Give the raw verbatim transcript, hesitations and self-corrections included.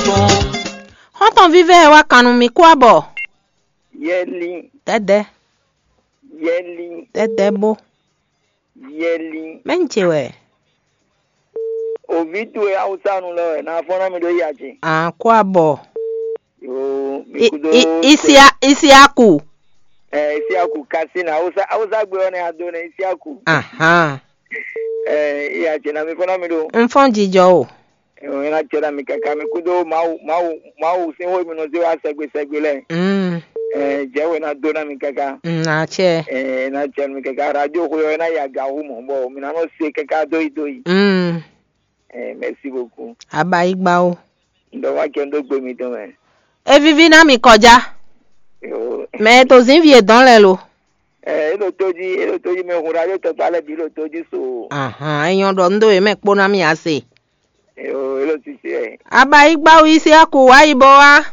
Xɔ́ntɔn vívɛ́ ɛ wá kan nú mì kú abɔ. Yɛli, Dɛdɛ, yɛli, dɛdɛ bó. Yɛli. Mɛ ń ce wɛ. Ovi towe Awusanu lɔ wɛ na fɔ́n ná mi ɖó ya ce. Àn kú abɔ. Yo, mi I- kudo I- Isia- Isiaku. Eh, Isiaku Kasina Awusa Awusa gbe ɔ́ nɛ ado nɛ Isiaku. Ahan. Eh, ya ce na mi fɔ́n ná mi ɖó. N fɔ́n jijɔ o. Ɛ ná cɛ ná mi káká mi kúdó Mawu Mawu Mawu sín xó e mi nɔ zé wá sɛgbe sɛgbe lɛ́ɛ. Mm. Ɛ jɛ wɛ ná dó ná mi káká. Mm, ná cɛ. Ɛ ná cɛ mi káká radio xó ɔ́ ná ya ga hú mɔ bɔ mi ná nɔ se káká dó yi dó yi. Mm. Ɛ merci beaucoup. Aba yi gba o. Ŋdɔ wá kɛ ŋdó gbe mi tɔn mɛ. E viví ná mi kɔjá. Yo. Mɛ e to zǐn vi e dɔn lɛ lo. Ɛ e ɖo tó jí e ɖo tó jí mɛ hun radio tɔgba lɛ bǐ ɖo tó jí so. Ahan, e nyɔ ɖɔ ŋdó e mɛ kpó ná mi ase. Yo, e ɖo sisi ɛ. Aba yi gba o yi se aku wá yi bɔ wá.